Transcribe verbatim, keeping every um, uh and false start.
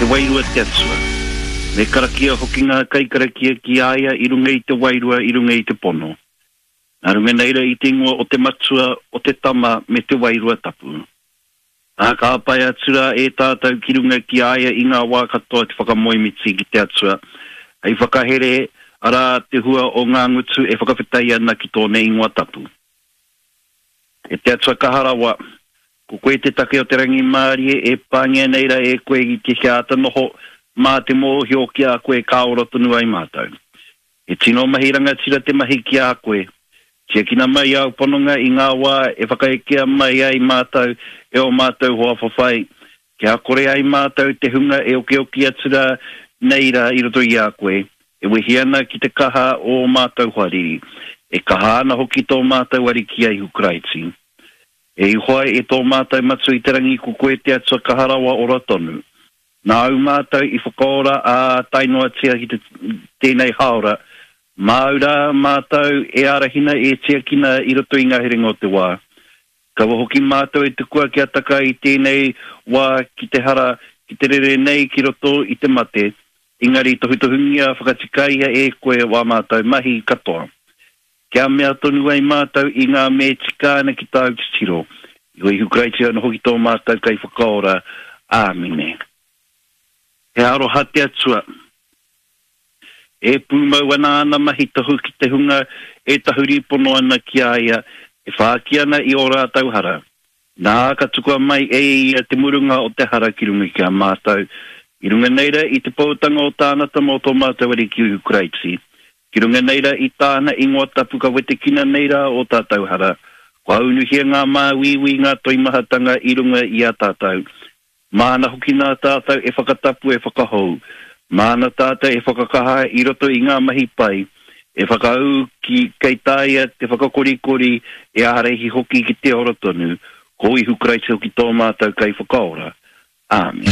He wairua te Atua. Me karakia hoki ngā kaikarakia ki a ia i runga i te wairua, i runga i te pono. Nā runga nei rā i te ingoa o te Matua, o te Tama, me te Wairua Tapu. Ā, ka āpae atu rā e tātou ki runga ki a ia i ngā wā katoa te whakamoemiti ki te Atua, hei whakahere, arā, te hua o ngā ngutu e whakawhetai ana ki tōna ingoa tapu. E te Atua kaha rawa, ko koe te take o te rangimārie e pāngia nei rā e koe i te kia āta noho mā te mōhio ki a koe ka ora tonu ai mātou. He tino mahi rangatira te mahi ki a koe. Tiakina mai āu pononga i ngā wā e whakaekea mai ai mātou e ō mātou hoa whawhai, kia kore ai mātou te hunga e okioki atu rā nei rā i roto i a koe, e wehi ana ki te kaha o ō mātou hoariri, e kaha ana hoki tō mātou Ariki a Ihu Karaiti. E Ihoa, e tō mātou Matua i te rangi, ko koe te Atua kaha rawa ora tonu. Nāu mātou i whakaora ā tae noatia ki te tēnei hāora, māu rā mātou e ārahina e tiakina i roto i ngā herenga o te wā. Kaua hoki mātou e tukua kia taka i tēnei wā ki te hara, ki te rere nei ki roto i te mate, engari tohutohungia whakatikaia e koe wā mātou mahi katoa. Kia mea tonu ai mātou i ngā me tika ana ki tāu titiro. I o Ihu Karaiti anō hoki tō mātou Kaiwhakaora. Āmine. He aroha te Atua. E pūmau ana āna mahi tohu ki te hunga e tahuri pono ana ki a ia, e whāki ana i ō rātou hara. Nā, ka tukua mai e ia te murunga o te hara ki runga ki a mātou, i runga nei rā i te poutanga o tāna Tama o tō mātou Ariki Ihu Karaiti. Ki runga nei rā i tāna ingoa tapu ka wetekina nei rā ō tātou hara, kua unuhia ngā māuiui, ngā toimahatanga i runga i a tātou. Māna hoki nā tātou e whakatapu, e whakahou. Māna tātou e whakakaha i roto i ngā mahi pai, e whakaū ki, kei taea te whakakorikori, e ārahi hoki ki te ora tonu. Ko Ihu Karaiti hoki tō mātou Kaiwhakaora. Āmine.